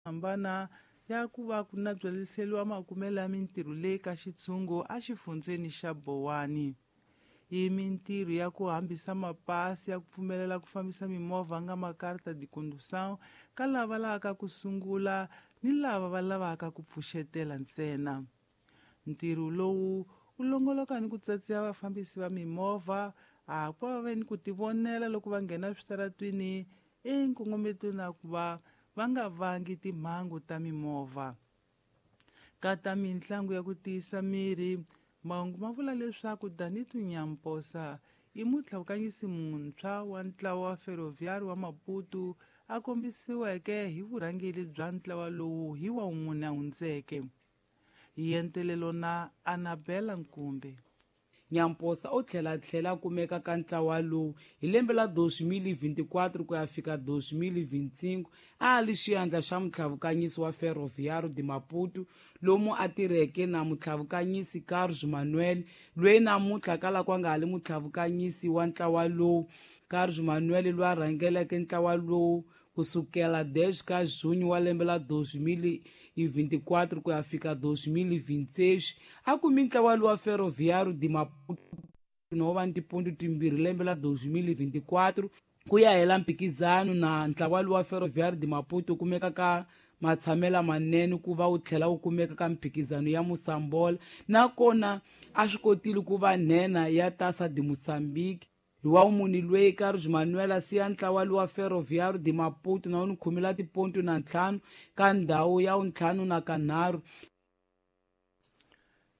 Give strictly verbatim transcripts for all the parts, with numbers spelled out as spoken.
Hambana ya ku va ku nabyaliseriwa makumelo ya mintirho leyi ka xitshungu exifundzeni xa Bowani. I mintirho ya ku hambisa mapasi ya ku pfumelela ku fambisa mimovha nga makarta de condução ka lava lavaka ku sungula ni lava va lavaka ku pfuxetela ntsena. Ntirho lowu wu longoloka ni ku tsatsiya vafambisi va mimovha a ku va ve ni ku tivonela loko va nghena switaratwini enkongometweni na ku va va nga vangi timhangu ta mimovha. Ka ta mintlangu ya ku tiyisa miri, mahungu ma vula leswaku Danito Nyamposa i mutlhavukanyisi muntshwa wa ntlawa wa Ferroviário wa Maputo a kombisiweke hi vurhangeri bya ntlawa lowu hi wa wun'we a hundzeke. Hi entelelo na Anabela Nkumbe. Nyamposa u tlhela tlhela kumeka ka ntlawa lowu hi lembe la dois mil e vinte e quatro ku ya fika dois mil e vinte e cinco a li xiyandla xa mutlhavukanyisi wa Ferroviário de Maputo lomu a tirheke na mutlhavukanyisi Carlos Manuel loyi namuntlha kala kwa nga ha li mutlhavukanyisi wa ntlawa lowu. Carlos Manuel loyi a rhangeleke ntlawa lowu kusukela dez ka junho wa lembe la dois mil e vinte e quatro ku ya fika dois mil e vinte e seis a kumi ntlawa lowa Ferroviário de Maputo no va ni tiponto timbirhi lembe la dois mil e vinte e quatro ku ya hela mphikizano na ntlawa lowa Ferroviário de Maputo kumeka ka matshamela manene ku va wu tlhela wu kumeka ka mphikizano ya Mosambola nakona a swi kotile ku va nhenha ya Taça de Moçambique. Hi wa muni loyi Carlos Manuel a siya ntlawa lowa Ferroviário de Maputo na wu ni khumela tiponto na ntlhanu ka ndhawu ya wuntlhanu na kanharhu.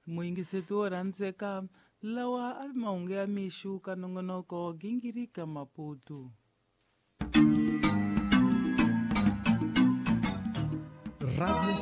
Muyingiseti wo rhandzeka, lawa a mahungu ya mixu ka nongonoko Gingirika Maputo. Radio